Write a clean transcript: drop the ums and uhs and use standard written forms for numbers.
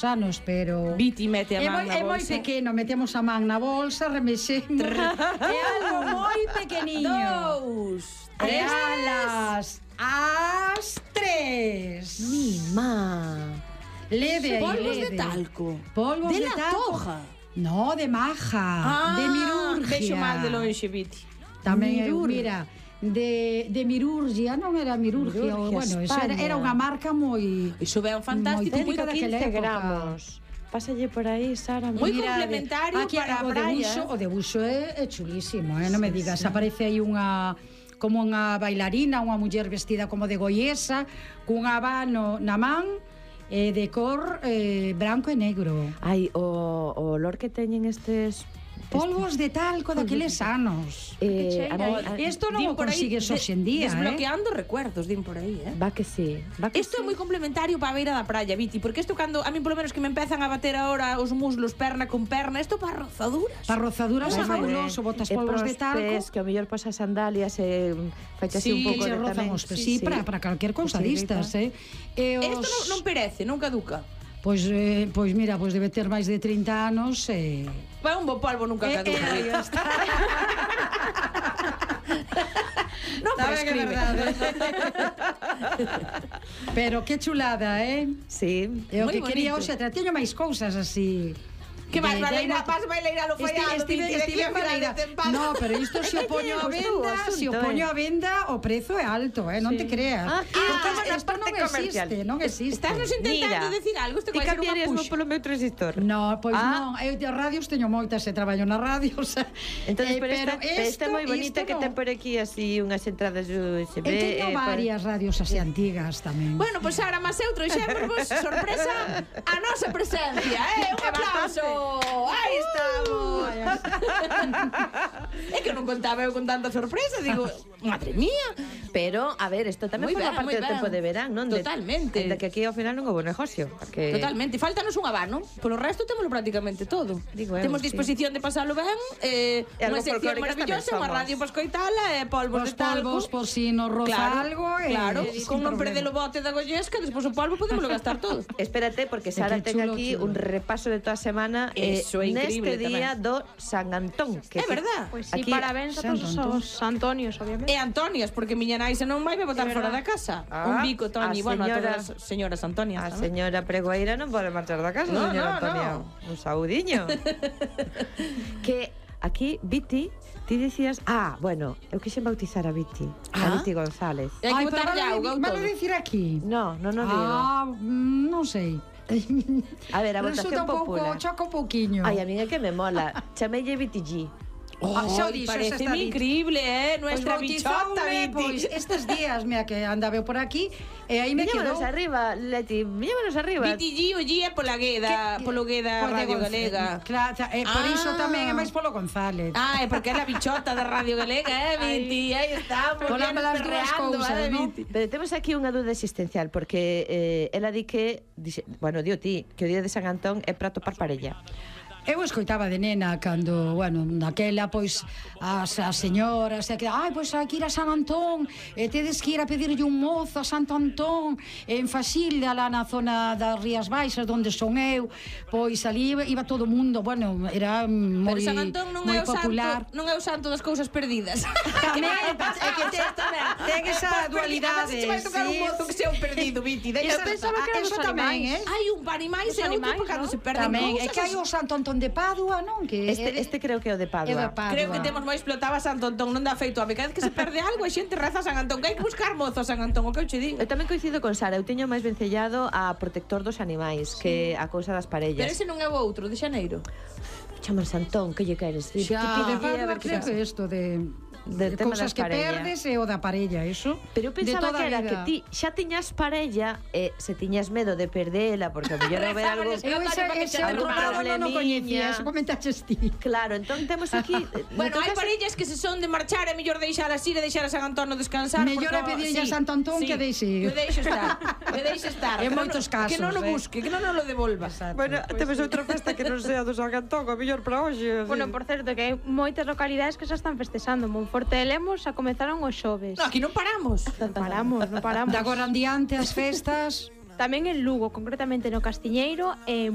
anos, pero Viti mete a man na bolsa. É moi pequeno, metemos a man na bolsa, remexemos. É algo moi pequeniño. 2, 3. E as 3. Mima. Leve aí, Polvos leve. de talco. Polvos de de talco. Toja. No, de maja, de mirurgia. Vexo mal de lonxe, Viti. Tamén, mira, de mirurgia, non era mirurgia, bueno, eso era unha marca moi... Iso é un fantástico, moi típica daquela 15 época. gramos. Pásalle por aí, Sara. Moi Mira, complementario aquí, para a praia. O debuxo é chulísimo, non me digas, aparece aí unha como unha bailarina, unha muller vestida como de goiesa, cun abano na man, de cor branco e negro. Ai, o olor que teñen estes polvos de talco daqueles anos. Isto non o consigues hoxe en día, desbloqueando recuerdos, din por aí, Va que sí. Isto é moi complementario para a beira da praia, Viti, porque isto cando, a mí polo menos que me empezan a bater ahora os muslos perna con perna, isto para rozaduras. Para rozaduras é fabuloso, botas polvos de talco. Pés, que ao mellor pasas sandalias e faixe así un pouco de tamén. Sí, para calquer cousa distas, Isto non perece, non caduca. Pois mira, pois debe ter máis de 30 anos e... Vai un bo polvo nunca caduca. Non prescribe. Pero que chulada, Sí. É o que quería hoxe, teño máis cousas así... Que vas baileira lo fallado, No, pero isto se o poño a venda, se o poño a venda, o prezo é alto, non te creas. Isto non existe. Estás nos intentando decir algo, isto vai ser unha puxa. Polo meu transistor. No, pois non, eu de radios teño moitas, traballo na radio, Entonces, pero esta é moi bonita que ten por aquí así unhas entradas USB. Teño varias radios así antigas tamén. Bueno, pois Sara, mas eu trouxemos sorpresa a nosa presencia, un aplauso. Aí estamos. É que non contaba eu con tanta sorpresa. Digo, madre mía. Pero, a ver, isto tamén forma parte do tempo de verán, non? Totalmente. De que aquí ao final non houve negocio. Totalmente. Faltanos un abano. Polo resto témolo prácticamente todo. Temos disposición de pasalo ben, unha sección maravillosa, unha radio para escoitala, polvos de talco. Polvos por si nos roza algo. Claro, con non perder o bote da gollesca, despois o polvo podemos gastar todo. Espérate, porque Sara ten aquí un repaso de toda a semana neste día do San Antón. É verdad. Pois si, parabéns a todos os Antonios, obviamente. E Antonias, porque miña nai se non vai botar fora da casa. Un bico, Toñi, bueno, a todas as señoras Antonias. A señora pregoeira non pode marchar da casa, señora Antonia. Un saudiño. Que aquí, Viti, ti dicías... bueno, eu quixen bautizar a Viti. A Viti González. E hai que botarlle auga ou todo. Vale dicir aquí? No digo. Non sei. A ver, a votación popular. Choca un pouquiño. Ai, a mí é que me mola. Chamelle Viti G. Pareceme increíble, nuestra bichota, Viti. Pois estes días, mira que andaba por aquí e aí me quedou. Míñamonos arriba, Leti, míñamonos arriba. Viti G, o G é pola Gueda, polo Gueda Radio Galega. Claro, por iso tamén é máis polo González. É porque é a bichota da Radio Galega, Viti, aí estamos. Pola las dúas cousas, non? Pero temos aquí unha dúda existencial, porque ela di que, bueno, dio ti, que o día de San Antón é para topar parella. Eu escoitaba de nena cando, bueno, naquela, pois, as señoras pois hai que ir a San Antón tedes que ir a pedirlle un mozo a Santo Antón en Faxilda, lá na zona das Rías Baixas, onde son eu, pois ali iba todo o mundo, bueno, era moi popular. Pero San Antón non é o santo das cousas perdidas. Tamén, é que ten esa dualidade. Se vai tocar un mozo que sea un perdido, Viti. Eu pensaba que era os animais. Hai un para animais e outro para cando se perden cousas. Tamén, é que hai o Santo Antón de Padua, non? Que este creo que é o de Padua. Creo que temos moi explotada Santo Antón, non dá feito a cada vez que se perde algo, a xente reza a San Antón, que hai que buscar mozo a San Antón, o que eu che digo. Eu tamén coincido con Sara, eu teño máis vencellado a protector dos animais que a cousa das parellas. Pero ese non é o outro, de Xaneiro. Chaman Santón, que lle queres? Xa, de Padua creo que isto de cousas que perdes e o da parella, eso. Pero eu pensaba que era que ti xa tiñas parella e se tiñas medo de perdela, porque a mellor haber algo... Eu ese outro lado non o coñecía, eso comentaches ti. Claro, entón temos aquí... Bueno, hai parellas que se son de marchar é mellor deixar así e deixar a San Antón descansar. Mellor é pedirlle a Santo Antón que deixe. Que deixe estar. En moitos casos. Que non o busque, que non o devolva. Bueno, temos outra festa que non sea do San Antón, a mellor para hoxe. Bueno, por certo, que hai moitas localidades que xa están festexando. Monforte e Lemos xa comenzaron os xoves. No, aquí non paramos. Non paramos. De agora en diante as festas. Tamén en Lugo, concretamente no Castiñeiro, e